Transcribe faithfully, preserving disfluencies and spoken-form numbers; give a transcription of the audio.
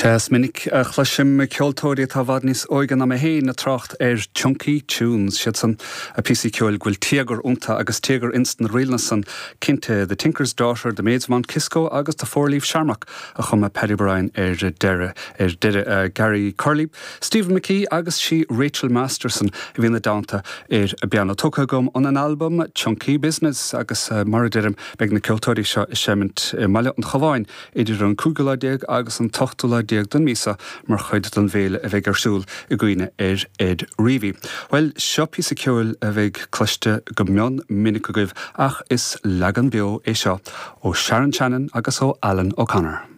Is minic a chloisim ceoltóirí atá i bhfad níos óige ná mé féin ag trácht ar chunky tunes siad san a píosaí ceoil go bhfuil téagar iontu agus téagar ins na ríleanna san cinnte The Tinker's Daughter, The Maids of Mount Kisco agus The Four Leaf Shamrock a chum Paddy Bryan ar deireadh ar deireadh uh, Gary Curley, Stephen McKee agus sí Rachel Masterson a bhí ina dteannta ar an bpianó tógtha agam ón an album Chunky Business agus uh, mar a deirim beidh na ceoltóirí seo ag seimint i mBaile an Chabháin idir an cúigiú lá déag agus an t-ochtú lá déag den mhí seo mar chuid den bhféile a bheidh ar siúl i gcuimhne ar Ed Reavy. Well seo píosa ceoil a bheidh cloiste go mion minic agaibh ach is leagan beo é seo ó Sharon Shannon agus ó Alan O'Connor.